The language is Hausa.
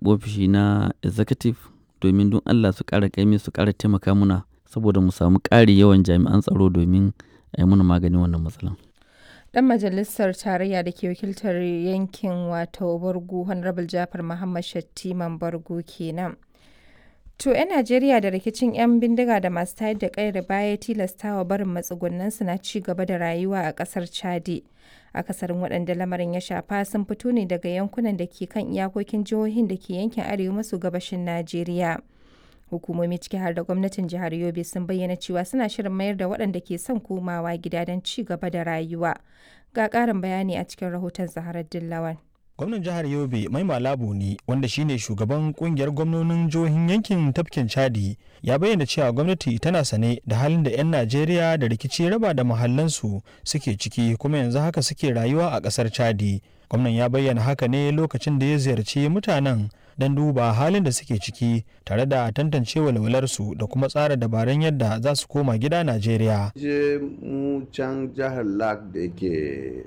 ofishi na executive domin don Allah su ƙara ƙaimi, su ƙara taimaka muna saboda mu samu ƙari yawan jami'an tsaro domin a yi muna maganin wannan matsalan. Dan majalisar tarayya da ke wakiltar yankin wato Bargu, Honorable Jafar Muhammad Shattiman Bargu kenan. To 'yan Najeriya da rikicin 'yan bindiga da masu tayar da kayar baya tilastawa barin matsugunansu na ci gaba da rayuwa a kasar Chadi. Akasarin waɗanda lamarin ya shafa sun fito ne daga yankunan da ke kan iyakokin jihohin da ke yankin arewa maso gabashin Najeriya. Hukumomi, ciki har da gwamnatin jihar Yobe, sun bayyana cewa suna shirin mayar da waɗanda ke son komawa gida don ci gaba da rayuwa. Ga ƙarin bayani a cikin rahoton Zaharar Dillawan. Gwamnan jihar Yobe Mai Malabu ne, wanda shine shugaban kungiyar gwamnonin jihohin yankin tafkin Chadi, ya bayyana cewa gwamnati tana sane da halin da 'yan Najeriya da rikici raba da mahallansu suke ciki, kuma yanzu haka suke rayuwa a kasar Chadi. Gwamnan ya bayyana haka ne lokacin da ya ziyarci mutanen don duba halin da suke ciki tare da tantance walwalarsu da kuma tsara dabarun yadda za su koma gida Najeriya. Je mu can jihar Lak da yake